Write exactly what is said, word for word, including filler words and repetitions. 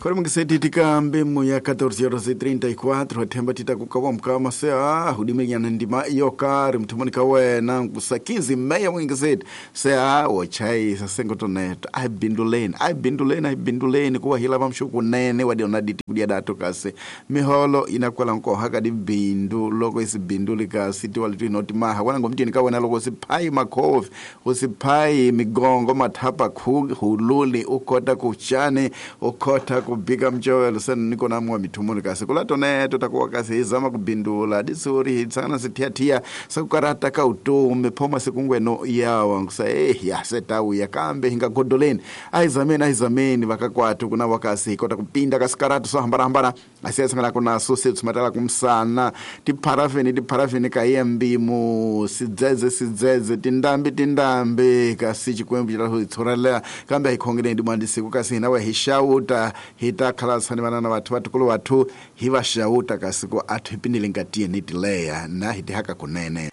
Khori mungiseti tikambe mu ya catorze horas e trinta e quatro themba tita kukawa mkama se ah hudimenyana ndima iyo kari mthomoni ka wena kusakizi meya mungiseti se ah ochai sasengotoneto ai binduleni ai binduleni ai binduleni kuwa hila vamshuku nene wadiona diti kudia dato kasi miholo inakwala nkoha kadi bindu loko isi binduli kasi tiwalitu inoti maha wana ngomtini ka wena loko siphai makhofi usiphai migongo mathapa hululi ukota kuchane ukota kubika mchowelo sena niko namwa mithumuni kasi kula toneto takuwa kasi hizama kubindula disuri hitsana sithiathia sakukarata ka utomi phoma sikungweno yawa ngusa eh ya setauya kambe hingagodoleni aizameni aizameni vakakwatu kuna wakasi hikota kupinda kasikaratu sohambarahambara asiyasangana kunaso setsumatala kumsana tipharafeni tipharafeni kayembimu sidzedze sidzedze tindambi tindambi kasi chikwembu chitahuitsorela kambe ahikhongeleni ndimwandisiku kasi hinawe hixawuta hita khalasani vanana vathu vatukulu vathu hi va xawuta kasi ku athu hipindile nkatiyeni tileya na hi tihaka kunene.